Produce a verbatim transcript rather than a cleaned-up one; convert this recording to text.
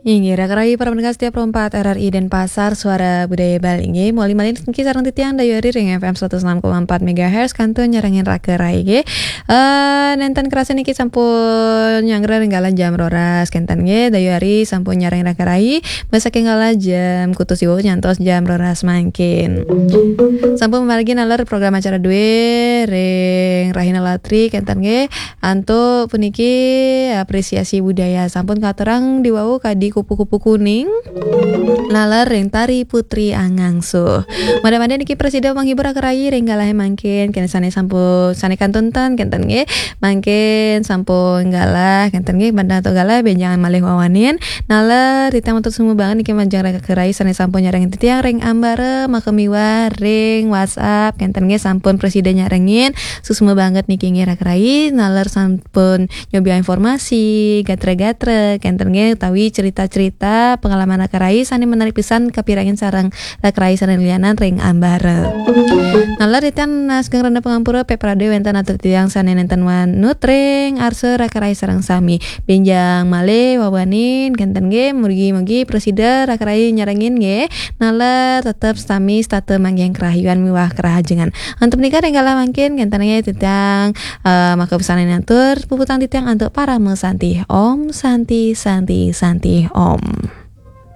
Inggih, raka rayi para pendengar setia Pro empat R R I Denpasar, Suara Budaya Bali. Inggih, malih malih niki sareng titiang Dayu Ari ring F M seratus enam koma empat megahertz, kantun nyarengin raka rayi, nggih. Eh, nenten kerasa niki sampun nyanggra ring galah jam roras, kenten nggih, Dayu Ari sampun nyarengin raka rayi, saking galah jam kutus ibu nyantos jam roras mangkin. Sampun mamargi naler program acara duwe ring Rahina Latri, kenten nggih. Antuk puniki apresiasi budaya sampun katurang diwau kadi kupu-kupu kuning. Naler ring Tari Putri Angangsuh. Mada-mada niki prasida menghibur raka rayi ring galahe mangkin. Kenten sane sampun, sane kantun ten, kenten nggih. Mangkin sampun galah, kenten nggih, mada antuk galah, benjang malih wawanin. Naler, titiang matur suksma banget niki majeng raka rayi sane sampun nyarengin titiang ring ambara, maka miwah ring WhatsApp, kenten nggih, sampun prasida nyarengin. Suksma banget niki nggih raka rayi, naler sampun nyobi informasi, gatra-gatra, kenten nggih, utawi cerita-cerita pengalaman raka rayi sane menarik pisan kapirengin sareng raka rayi sane lianan ring ambara. Naler titiang, eh, sugeng rena pangampura, pepradé wenten atur titiang sane nenten manut ring arsa raka rayi sareng sami. Benjang malih wawanin, kenten nggih, mugi-mugi prasida raka rayi nyarengin nggih. Naler tetep sami setata manggihin kerahayuan miwah kerahajengan. Antuk punika ring galah mangkin, kenten nggih titiang, eh, maka pisan atur puputang titiang antuk parama santi. Om Santi, Santi, Santi, Om.